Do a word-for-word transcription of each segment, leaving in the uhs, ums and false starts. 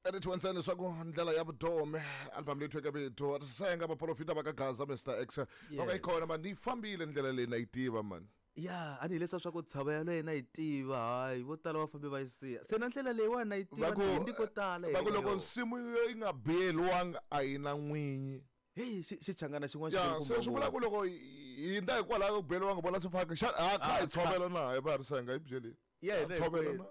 Edithi leswaku ndlela ya vutomi album leyi thweke vito Risenga vaprofita va ka Gaza Mister X loko yi kona mani yi fambile ndlela leyi na yi tiva mani. Ya a ni hileswa swa ku tshava ya yena yi tiva hayi vo tala va fambe va yi siya se na ndlela leyiwani na yi tiva ni ko tala va ku loko nsimu yi nga biyeliwanga a yi na n'winyi. Hey xichangana xin'wana xi se swi vula ku loko hi ndza hikwalaho ku biyeliwanga vona swi faka xa a kha hi tshovela na hi va Risenga yi byeleni. Yeah, tshovela na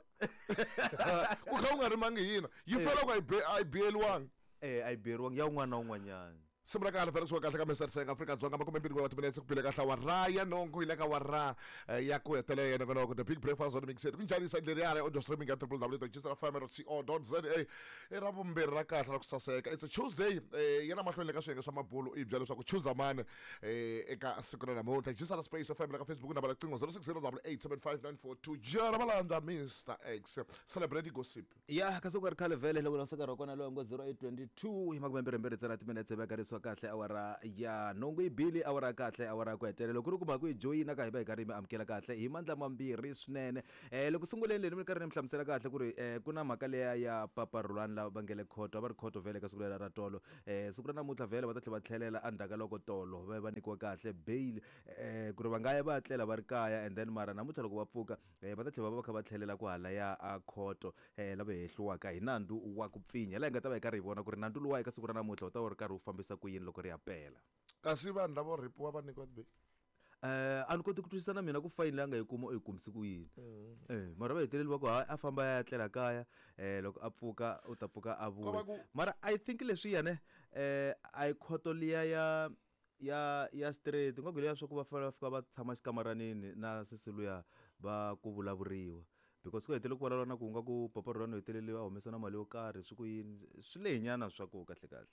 ku kha u nga rimangi hina yi fela ku a yi biyeliwanga eh a yi biyeriwanga ya un'wana na un'wanyana. Simu ra kahle vhele kusuka kahle ka Mister Risenga Afrika Dzonga makume mbirhi wa timinetse ku bile kahle wa ra ya nongo yi le ka wa ra ya ku hetelela yena kona ku the big breakfast on mixed ku njhani side leri ya audio streaming ya w w w dot jisr f m dot co dot za i ra vumbirhi ra kahle ra ku saseka. It's a Tuesday yena mahlweni le ka swiyenge swa mabulu i byela leswaku choose mani eka siku ra namuntlha Jisr Space F M le ka Facebook na riqingho zero six zero eight seven five nine four two jara malandza Mister X celebrity gossip ya kasi ku ri khale vhele loko na saka ro kona loyi ngo zero eight twenty two hi makume mbirhi mbirhi tsena timinetse va karhi kahle awara ya nongo yi bili awara kahle awara ku hetelela loko ri kuma ku yi joyina ka hi va hi karhi mi amukela kahle hi mandla mambirhi swinene. Eh loko sunguleni leyi mi karhi ni mi hlamusela kahle ku ri eh ku na mhaka leya ya Papa Rhulani lava va ngele khoto va ri khoto vhele ka siku lera ra tolo eh siku ra namuntlha vhele va ta tlhela va tlhelela endzhaku ka loko tolo va va nyikiwa kahle bail eh ku ri va nga ya va tlela va ri kaya and then mara namuntlha loko va pfuka eh va ta tlhela va va kha va tlhelela ku hala ya a khoto eh lava hehliwaka hi nandzu wa ku pfinya laha hi nga ta va hi karhi hi vona ku ri nandzu luwa eka siku ra namuntlha wu ta va ri karhi wu fambisa ku yini loko ri ya pela. Kasi vanhu lavo ripiwa va nyikiwa ti-bail eh a ni koti ku twisisa na mina ku fayini leyi a nga yi kuma u yi kumisi ku yini eh mara va heteleli va ku hayi a famba ya tlela kaya eh loko a pfuka u ta pfuka a vuya mara I think leswiyani eh a yi khoto liya ya ya ya straight nga ku leya swa ku va fanele va fika va tshama xikamaranini na sesi luya va ku vulavuriwa because ku hetelele ku vulavula na ku nga ku Papa Rhulani u hetelele a humesa na mali yo karhi swi ku yini swi lehinyana swa ku kahle kahle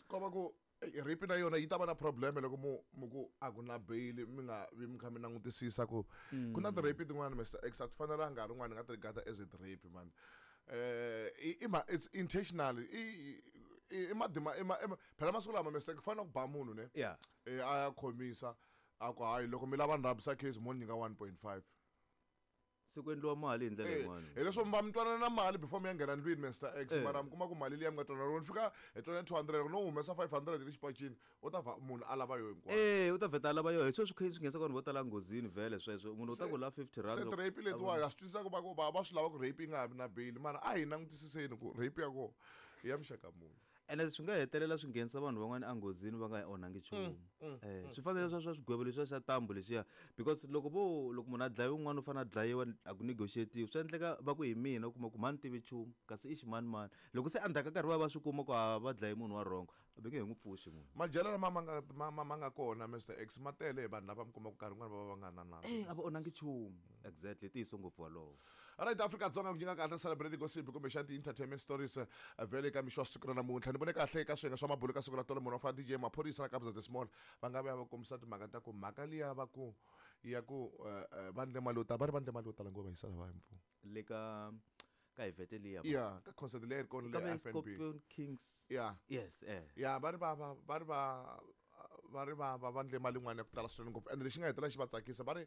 ko va ku rape na yona yi ta va na problem loko mu mu ku a ku na bail mi nga vi mi kha mi langutisisa ku ku na ti-rape tin'wana Mister X a ti fanelanga rin'wana nga ti regard as a rape man eh i it's intentional i i madima i phela masiku lama Mister ku fanele ku ba munhu ne yeah eh a ya khomisa a ku hayi loko mi lava ni rhabisa case mo ni nyika one point five se ku endliwa mali hi ndlela yin'wana hi leswo mi va mi twanana na mali before mi ya nghena ndlwini Mister X mara mi kuma ku mali liya mi nga twanana loko ni fika hi twanana two hundred loko no humesa five hundred le xipacini u ta va munhu a lava yo hinkwayo eh u ta vheta a lava yo hi sweswo swi kha swi nghenisa vanhu vo tala nghozini vhele sweswo munhu u ta ku la fifty rand se rape letiwa ya swi twisisa ku va ku va va swi lava ku rape yi nga vi na bail mara a hi langutisiseni ku rape ya kona i ya muxaka muni ene swi nga hetelela swi nghenisa vanhu van'wana enghozini va nga onhangi nchumu eh swi fanele swa swa swigwevo leswiya xa tambu lexiya because loko vo loko munhu a dlayiwa un'wana u fanele a dlayiwa a ku negotiatiwi swi endleka va ku hi mina u kuma ku mani tivi nchumu kasi i ximanimani loko se endzhaku ka nkarhi va va swi kuma ku a va dlayi munhu wa wrong va nge he n'wi pfuxi munhu majele lama ma nga ma ma nga kona Mister X ma tele hi vanhu lava mi kuma ku nkarhi wun'wana va va va nga na nandzu eh a va onhangi nchumu exactly ntiyiso ngopfu walowo. Alright Afrika Dzonga ku nyika kahle celebrity gossip kumbe xa ti-entertainment stories vhele ka mixo wa siku ra namuntlha ni vone kahle ka swiyenge swa mabulu ka siku ra tolo munhu wa fana D J Maphorisa na Kabza the Small va nga vuya va kombisa timhaka ta ku mhaka liya va ku ya ku va ndle mali yo tala va ri va ndle mali yo tala ngopfu va yisa lava hi mfumo le ka ka event liya ya ka concert leyi ri kona le F N B Scorpion Kings ya yes eh ya va ri va va va ri va va ri va va va ndle mali yin'wana ya ku tala swinene ngopfu ende lexi nga hetelela xi va tsakisa va ri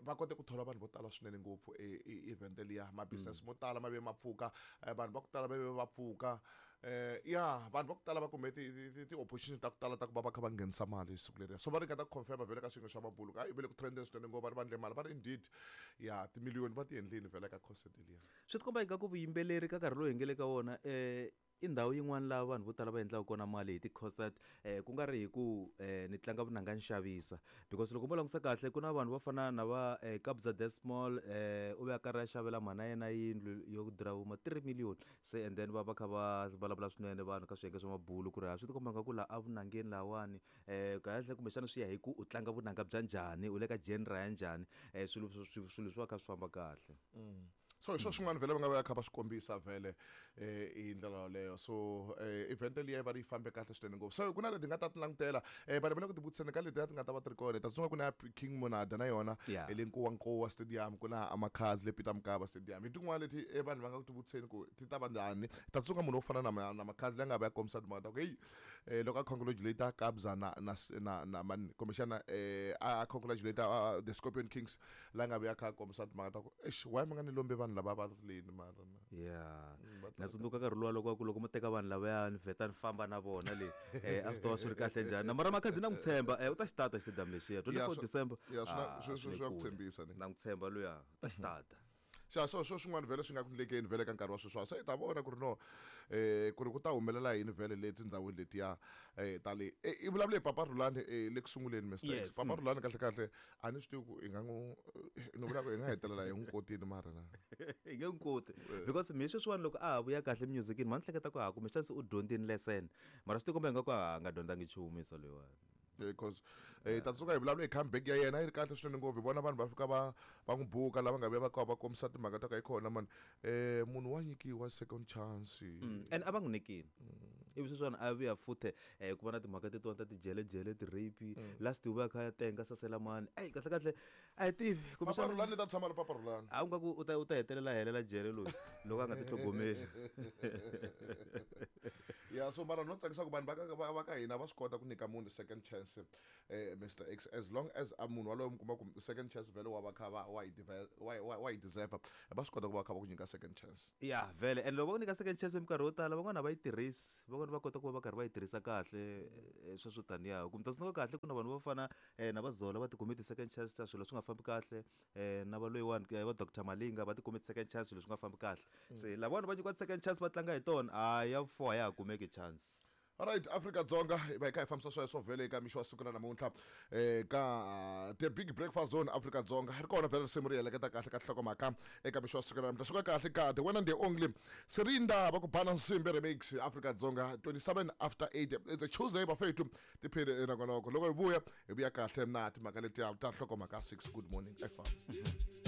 va kote ku thola vanhu vo tala swinene ngopfu e event liya ma business mo tala ma ve ma pfuka vanhu va ku tala va ve va pfuka eh ya vanhu va ku tala va kume ti ti opportunity ta ku tala ta ku va va kha va nghenisa mali siku leriya so va ringeta ku confirm vhele ka swiyenge swa mabulu ka vele ku trendeni swinene ngopfu va ri va ndle mali va ri indeed ya timiliyoni va ti endlini vhele ka concert liya swi tikomba ingaku vuyimbeleri ka nkarhi lowu hi nge le ka wona eh i ndhawu yin'wana laha vanhu vo tala va endlaka kona mali hi ti-concert eh ku nga ri hi ku eh ni tlanga vunanga ni xavisa because loko mo langutisa kahle ku na vanhu vo fana na va eh, Kabza De Small eh u ve a karhi a xavela mhana yena yindlu yo durha vo ma three million se and then va va kha va vulavula swinene vanhu ka swiyenge swa mabulu ku ri ha swi tikomba nga ku laha a vunangeni lahawani eh kahle kumbexana swi ya hi ku u tlanga vunanga bya njhani u le ka genre ya njhani eh swilo swilo swi va kha swi famba kahle. So hi swo swin'wana vhele va nga va kha va swi kombisa vhele eh hi ndlela yoleyo so eh event liya va ri yi fambe kahle swinene ngopfu so ku na leti nga ta ti langutela eh vanhu va le ku ti vutiseni ka letiya ti nga ta va ti ri kona ta tsunga ku na King Monada na yona Yeah. hi le Nkowankowa Stadium ku na Amakhazi le Peter Mokaba Stadium hi tin'wana leti eh, vanhu va nga ku ti vutiseni ku ti ta va njhani ta tsunga munhu wo fana na ma- na Makhazi leyi nga va ya kombisa timhaka ta ku heyi eh loko a congratulate Kabza na na na na mani kumbexana eh a congratulate uh, the Scorpion Kings la nga vuya kha kombisa timhaka ta ku eish why mi nga ni lombi vanhu vanhu lava va rileni mara na ya Mm, va na tsundzuka nkarhi luwa loko ku loko mo teka vanhu lavaya ni vheta ni famba na vona le eh, a swi ta va swi ri kahle njhani na mara Makhadzi na n'wi tshemba eh, u ta xi tata xitediyamu lexiya Ya, twenty-four swi- December ya, swi na- Ah, swi- swi swi- le swi ya ku kule. tshembisa ni. Na n'wi tshemba luya u ta xi tata xa so swo swin'wana vhele swi nga ku ndlekeni vhele ka nkarhi wa sweswiwa se hi ta vona ku ri no eh ku ri ku ta humelela yini vhele le tindhawini letiya eh ta le eh, i vulavule hi papa Rhulani eh, le ku sunguleni Mister Yes, X papa Rhulani kahle kahle a ni swi tivi ku i nga n'wi ni vula ku hi nga hetelela hi n'wi kotini mara na hi nge n'wi koti because mi sweswiwani loko a ha vuya kahle musicini ma ni hleketa ku ha kumbexana se u dyondzini lesson mara swi tikomba ingaku a nga dyondzangi nchumu isa loyiwani because eh ta tsundzuka hi vulavula hi comeback ya yena yi ri kahle swinene ngopfu hi vona vanhu va fika va va n'wi buka lava nga vuya va ka va kombisa timhaka ta ka yi kona mani eh munhu wa nyikiwa second chance Mm, and a va n'wi nyikini ivi sweswiwani a vuya futhe um ku va na timhaka tetiwani ta tijelejele ti-rape last u vuya kha ya tenga saselamani eyi kahle kahle a hi tivi papa kumbexana Rhulani ta tshama ri papa Rhulani a u nga ku u ta u ta hetelela a helela jele loyi loko a nga titlhogomeli ya so mara no tsakisa ku vanhu va ka va va ka hina va swi kota ku nyika munhu second chance eh Mister X as long as a munhu waloye mi kuma ku second chance vhele wa va kha va wa yi deve- wa wa wa yi deserve va swi kota ku va kha va ku nyika second chance ya vhele and loko va ku nyika second chance minkarhi yo tala van'wana a va yi tirhisi van'wana va kota ku va va karhi va yi tirhisa kahle eh, sweswo taniya kumbe ta tsundzuka kahle ku na vanhu vo fana um na va Zola va tikume ti-second chance ta swilo swi nga fambi kahle um na va loyiwani eh, va Doctor Malinga va tikume ti-second chance swilo swi nga fambi kahle se lavawani va nyikiwa ti-second chance va tlanga hi tona a ya four a ya ha kumeki chance alright Afrika Dzonga hi va hi kha hi fambisa sweswo vhele eka mixo wa siku ra namuntlha eh ka the big breakfast zone Afrika Dzonga ri kona vhele risimu ri heleketa kahle ka nhlokomhaka eka mixo wa siku ra namuntlha suka kahle ka the one and the only Serinda va ku bana nsimbi remix Afrika Dzonga twenty-seven after eight it's a Tuesday bafethu tiphele nakonoko loko hi vuya hi vuya kahle na timhaka letiya ta nhlokomhaka six good morning F M